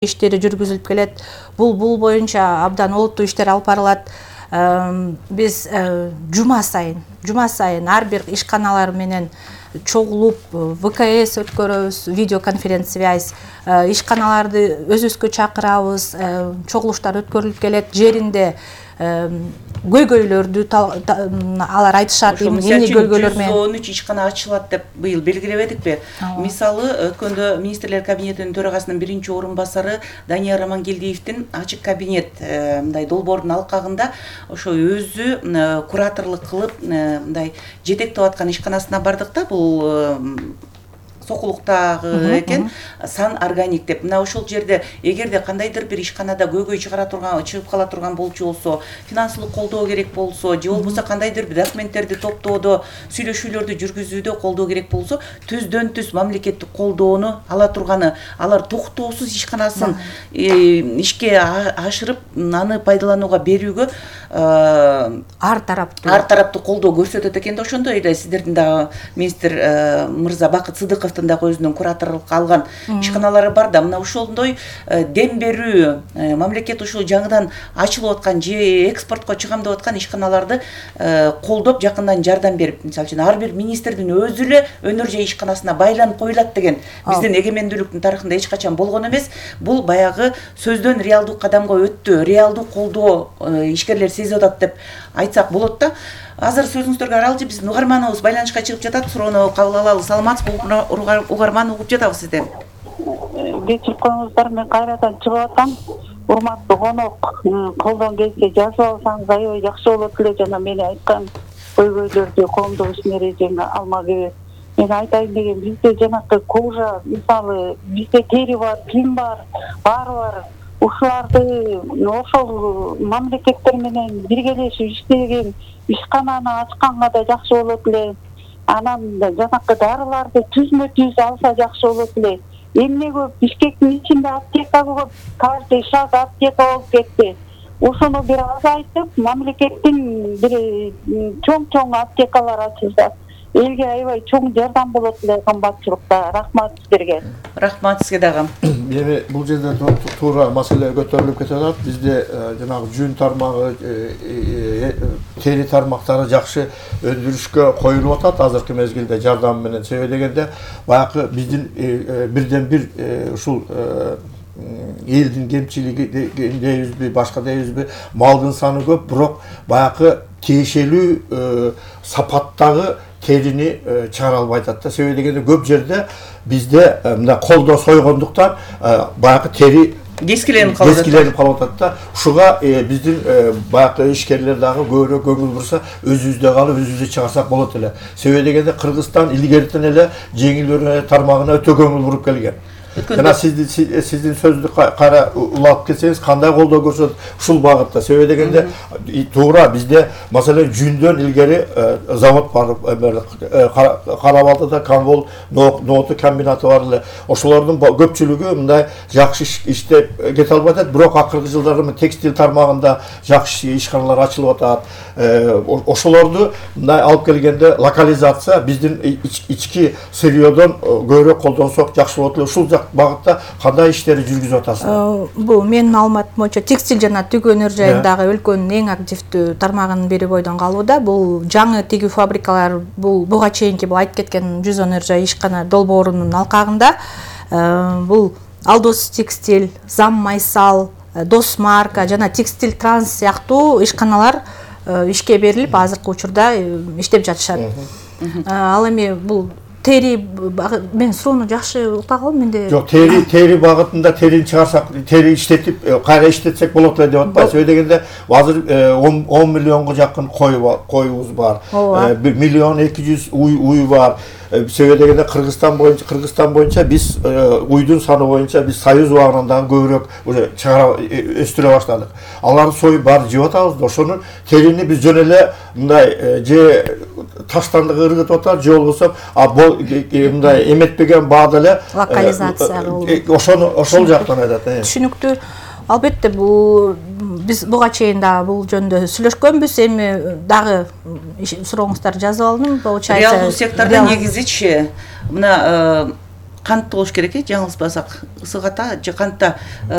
иштери жүргүзүлүп келет. Бул боюнча абдан олуттуу иштер алып барылат. Биз жума сайын ар бир ишканалар менен чогулуп ВКС өткөрөбүз, видеоконференц-связь, ишканаларды өзүбүзгө чакырабыз, чогулуштар өткөрүлүп келет. Жеринде көйгөйлөрдү алар айтышат, эмне көйгөйлөр менен 113 ишкана ачылат деп быйыл белгилебедикпи? Мисалы, өткөндө министрлер кабинетинин төрагасынын биринчи орун басары Данияр Амангелдиевдин ачык кабинет мындай долбоордун алкагында ошо өзү кураторлук кылып мындай жетектеп аткан ишканасына бардык да, бул Сокулуктагы экен, Сан Органик деп. Мына ошол жерде эгерде кандайдыр бир ишканада көйгөй чыгып кала турган болчу болсо, финансылык колдоо керек болсо, же болбосо кандайдыр бир документтерди топтоодо, сүйлөшүүлөрдү жүргүзүүдө колдоо керек болсо, түздөн түз мамлекеттик колдоону ала турганы, алар токтоосуз ишканасын ишке ашырып, аны пайдаланууга берүүгө ар тараптуу колдоо көрсөтөт экен да. Ошондой эле сиздердин дагы министр мырза Бакыт Сыдыковдун дагы өзүнүн кураторлукка алган ишканалары бар да. Мына ошондой дем берүү, мамлекет ушул жаңыдан ачылып аткан же экспортко чыгам деп аткан ишканаларды колдоп, жакындан жардам берип, мисалы үчүн ар бир министрдин өзү эле өнөр жай ишканасына байланып коюлат деген биздин эгемендүүлүктүн тарыхында эч качан болгон эмес. Бул баягы сөздөн реалдуу кадамга өттү, реалдуу колдоо ишкерлер сезип атат деп айтсак болот да. Азыр сөзүңүздөргө аралжы биздин угарманыбыз байланышка чыгып жатат. Суроону кабыл алалы. Саламатсызбы, угарман угуп жатабыз сизден. Кечирип коюңуздар, мен кайрадан чыгып атам. Урматтуу конок, колдон келсе жазып алсаңыз аябай жакшы болот эле. Жана мен айткан көйгөйлөрдү коомдук ишин эрежеге алма кебек. Мен айтайын деген, бизде жанакы кожа, мисалы, бизде тери бар, ким бар, баары бар. Ушуларды ошол мамлекеттер менен биргелешип иштеген ишкананы ачканга да жакшы болот эле. Анан жанакы дарыларды түзмө-түз алса жакшы болот эле. Эмне көп, Бишкектин ичинде аптека көп, каждый шаг аптека болуп кетти. Ошону бир азайтып, мамлекеттин бир чоң аптекалар ачылса, элге аябай чоң жардам болот эле кымбатчылыкта. Рахмат сиздерге. Рахмат сизге дагы. Эми бул жерде туура маселе көтөрүлүп кетип атат. Бизде жанагы жүн тармагы, тери тармактары жакшы өндүрүшкө коюлуп атат азыркы мезгилде жардам менен. Себеби дегенде баягы биздин бирден бир ушул элдин кемчилиги дейбизби, башка дейбизби, малдын саны көп, бирок баягы тиешелүү сапаттагы терини чыгара албай атат да. Себеби дегенде көп жерде бизде мына колдо сойгондуктан баягы тери кескиленип калып атат да. Ушуга биздин баягы ишкерлер дагы көбүрөөк көңүл бурса, өзүбүздө калып, өзүбүздө чыгарсак болот эле. Себеби дегенде Кыргызстан илгертен эле жеңил өнөр тармагына өтө көңүл буруп келген. Жана сиздин сөздү кайра улап кетсеңиз, кандай колдоо көрсөтөт ушул багытта? Себеби дегенде туура бизде маселен жүндөн илгери завод бар, Кара-Балтада Камвол нооту комбинаты бар эле. Ошолордун көпчүлүгү мындай жакшы иштеп кете албай атат, бирок акыркы жылдары текстиль тармагында жакшы ишканалар ачылып атат. Ошолорду мындай алып келгенде локализация биздин ички сырьёдон көбүрөөк колдонсок жакшы болот эле. Ушул багытта кандай иштерди жүргүзүп атасыздар? Бул менин маалыматым боюнча текстиль жана тигүү өнөр жайындагы өлкөнүн эң активдүү тармагынын бири бойдон калууда. Бул жаңы тигүү фабрикалар буга чейинки айтып кеткен 100 өнөр жай ишкана долбоорунун алкагында бул Алдос текстиль, Зам Майсал, Дос марка жана Текстиль Транс сыяктуу ишканалар ишке берилип, азыркы учурда иштеп жатышат. Ал эми бул тери, мен суроону жакшы уктагам менде. Жок, тери багытында терини чыгарсак, тери иштетип, кайра иштетсек болот эле деп атпайбы? Себеби дегенде азыр 10 миллионго жакын коюбуз бар. 1 миллион 200 уй бар. Себеби дегенде Кыргызстан боюнча биз уйдун саны боюнча биз союз убагынан дагы көбүрөөк уже чыгара өстүрө баштадык. Аларды союп баары жеп атабыз да, ошонун терини биз жөн эле мындай же таштандыгы ыргытып атат, же болбосо мындай эметпеген баада эле локализация ошол жактан айтат. Түшүнүктүү. Албетте биз буга чейин да бул жөнүндө сүйлөшкөнбүз. Эми дагы сурооңуздар жазып алдым. Реалдуу сектордун негизичи мына кантты болуш керек жаңылышпасак, ысык ата же кантта